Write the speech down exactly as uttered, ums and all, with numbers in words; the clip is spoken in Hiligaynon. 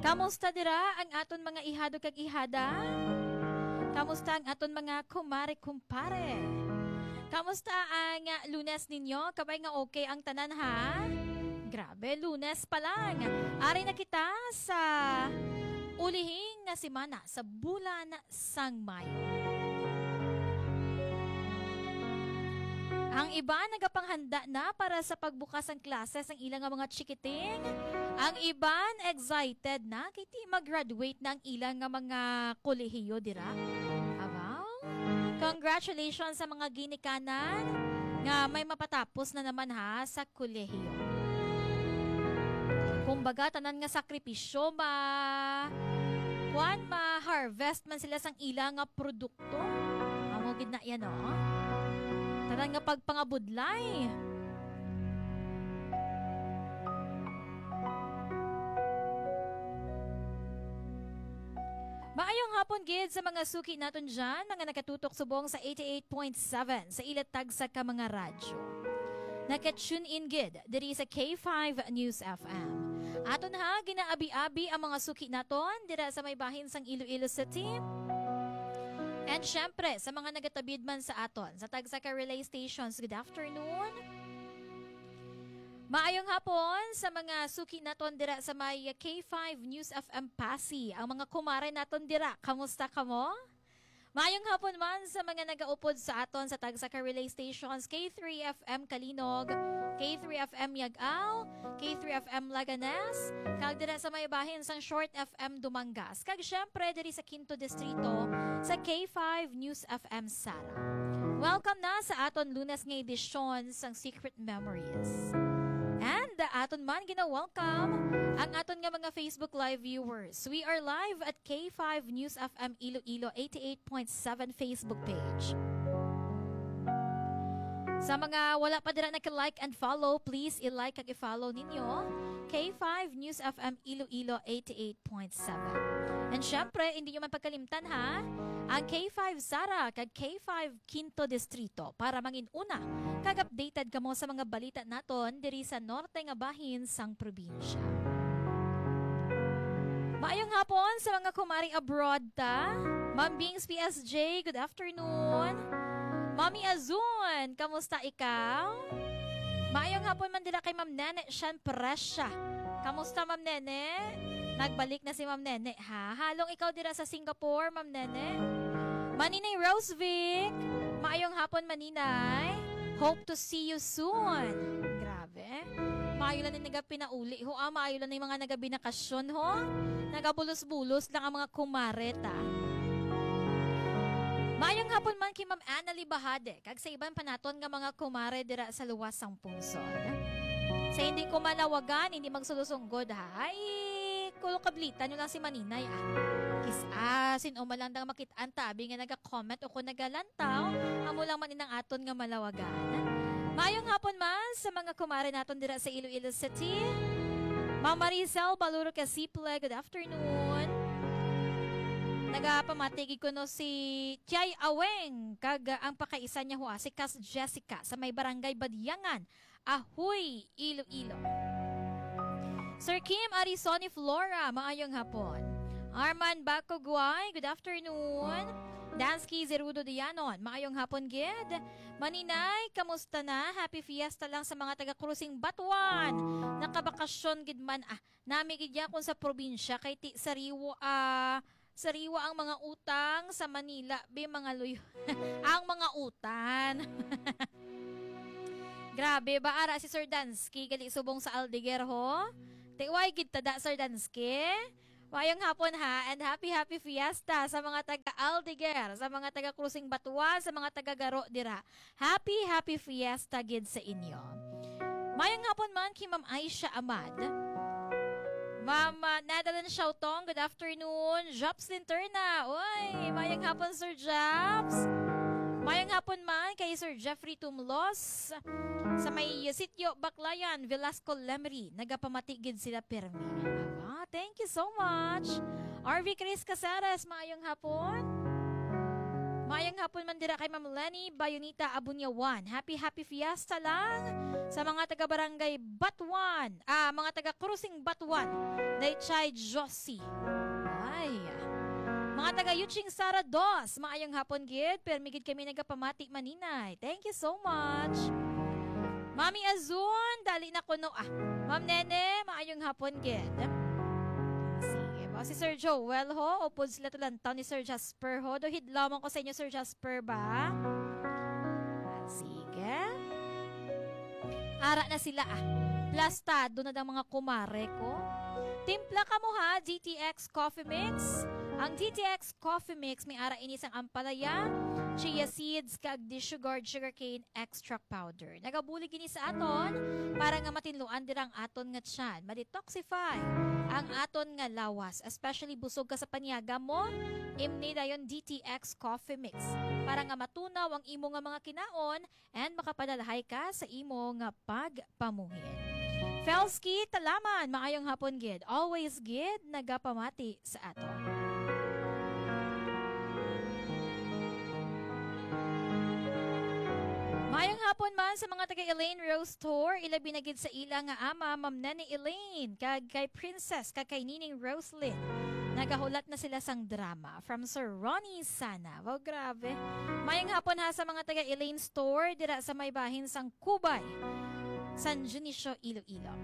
Kamusta dira ang aton mga ihado kag ihada? Kamusta ang aton mga kumare, kumpare? Kamusta ang, ah, Lunes ninyo? Kabay nga okay ang tanan, ha? Grabe, Lunes pa lang. Ari na kita sa ulihing nga semana sa bulan sang Mayo. Ang iban nagapanghanda na para sa pagbukas sang klase sang ila nga mga chikiting. Ang iban excited na kay ti mag-graduate na ang ila nga mga kolehiyo dira. Abaw! Congratulations sa mga ginikanan nga may mapatapos na naman, ha, sa kolehiyo. Kumbaga, tanan nga sakripisyo ma-, kuwan, ma-harvest man sila sang ila nga produkto. Amo gid na yan, oh. Tanan nga pagpangabudlay. Maayong hapon gid sa mga suki naton dyan, mga nakatutok subong sa eighty-eight point seven sa ila tagsa ka mga radyo. Naka-tune in gid diri sa K five News F M. Aton, ha, ginaabi-abi ang mga suki naton dira sa may bahin sang Iloilo City. And syempre, sa mga nagatabid man sa aton, sa tagsa ka relay stations, good afternoon. Maayong hapon sa mga suki naton dira sa may K five News F M Passi. Ang mga kumare naton dira, kamusta kamo? Maayong hapon man sa mga nagaupod sa aton sa tagsa ka relay stations, K three F M Calinog, K three F M Yag-Ao, K three F M Laganes, kag dira sa may bahin sang Short F M Dumangas, kag syempre diri sa Quinto Distrito sa K five News F M Sara. Welcome na sa aton Lunes nga edisyon sang Secret Memories. And aton man gina-welcome ang aton nga mga Facebook Live viewers. We are live at K five News F M Iloilo eighty-eight point seven Facebook page. Sa mga wala pa dira naka-like and follow, please i-like kag i-follow ninyo K five News F M Iloilo eighty-eight point seven. And syempre, hindi nyo man pagkalimtan, ha, ang K five Sara kag K five Quinto Distrito para mangin-una kag updated kamo sa mga balita naton diri sa norte nga bahin sang probinsya. Maayong hapon sa mga kumari abroad ta. Ma'am Bings P S J, good afternoon. Mami Azun, kamusta ikaw? Maayong hapon man dira kay Ma'am Nene Shan Presya. Kamusta, Ma'am Nene? Nagbalik na si Ma'am Nene, ha? Halong ikaw dira sa Singapore, Ma'am Nene. Maninay Rosevic, maayong hapon, Maninay. Hope to see you soon. Grabe. Maayo lang ni nagapinauli ho, ah. Maayo lang ni mga nagabinakasyon ho. Nagabulos-bulos lang ang mga kumare ta. Maayong hapon man kay Ma'am Annalie Bahade, kag sa iban pa naton nga mga kumare dira sa luwas sang pungsod. Sa hindi ko malawagan, hindi magsulosunggod, ha? Ay, kulo kablitan nyo lang si Maninay, ah. Kis-a, sin-o man lang dang makit-an ta, abi nga naga-comment o kung nagalantaw, amo lang man inang aton nga malawagan. Maayong hapon man sa mga kumare naton dira sa Iloilo City. Ma'am Maricel Baluro Casiple, good afternoon. Nagapamati gid kuno si Tiay Aweng, kag, ah, ang pakaisan niya ho, ah, si Kas Jessica sa may Barangay Badiangan, Ahoy, Iloilo. Sir Kim Arisoni Flora, maayong hapon. Arman Bakugway, good afternoon. Dansky Zerudo Dianon, maayong hapon gid. Maninay, kamusta na? Happy Fiesta lang sa mga taga Krusing Batuan. Nakabakasyon gid man, ah, nami gid yakon sa probinsya kay ti sariwa, ah, sariwa ang mga utang sa Manila, be, mga luyo. Ang mga utan. Grabe ba ara si Sir Dansky gali subong sa Aldeguer, ho? Tiway gid tada, Sir Dansky. Mayong hapon, ha, and happy, happy fiesta sa mga taga Aldeguer, sa mga taga Krusing Batuan, sa mga taga Garo dira. Happy, happy fiesta gid sa inyo. Mayong hapon man kay Ma'am Aisha Amad. Ma'am, ah, Nadalyn Shautong, good afternoon. Jobs Linterna, oy, mayong hapon, Sir Jobs. Mayong hapon man kay Sir Jeffrey Tumlos sa may Sitio Baclayan, Velasco Lemery. Nagapamati gid sila pirmi. Ah, thank you so much. R V Chris Caceres, mayong hapon. Maayong hapon man dira kay Ma'am Lenny Bayonita Abunyawan. Happy, happy fiesta lang sa mga taga Barangay Batuan, ah, mga taga Krusing Batuan, Daychay Josie. Ay. Mga taga Yuching Sara Dos, maayong hapon gid. Permi gid kami nagapamati maninay. Thank you so much. Mami Azun, dali na kuno ah. Ma'am Nene, maayong hapon gid. Sige po. Si Sir Joel ho, upod sila tulantaw ni Sir Jasper ho. Do hidlaw ko sa inyo, Sir Jasper ba? Sige. Ara na sila ah. Plastado na dang mga kumare ko. Timpla kamo ha, D T X Coffee Mix. Ang D T X Coffee Mix may ara ini sang ampalaya, chia seeds, kag disugared sugarcane extract powder. Nagabulig ini sa aton para nga matinluan dira ang aton nga tiyan, ma-detoxify ang aton nga lawas, especially busog ka sa panyaga mo, imni dayon D T X Coffee Mix para nga matunaw ang imo nga mga kinaon and makapadalahay ka sa imo nga pagpamuhin. Felsky Talaman, maayong hapon gid. Always gid nagapamati sa aton. Maayong hapon man sa mga taga Elaine Rose Tour, ilabi na gid sa ila nga ama, Ma'am Nene Elaine, kag kay Princess, kag kay Nining Roslyn. Nagahulat na sila sang drama from Sir Ronnie Sana. Wow, grabe. Maayong hapon ha sa mga taga Elaine Store dira sa may bahin sang Kubay, San Dionisio, Iloilo.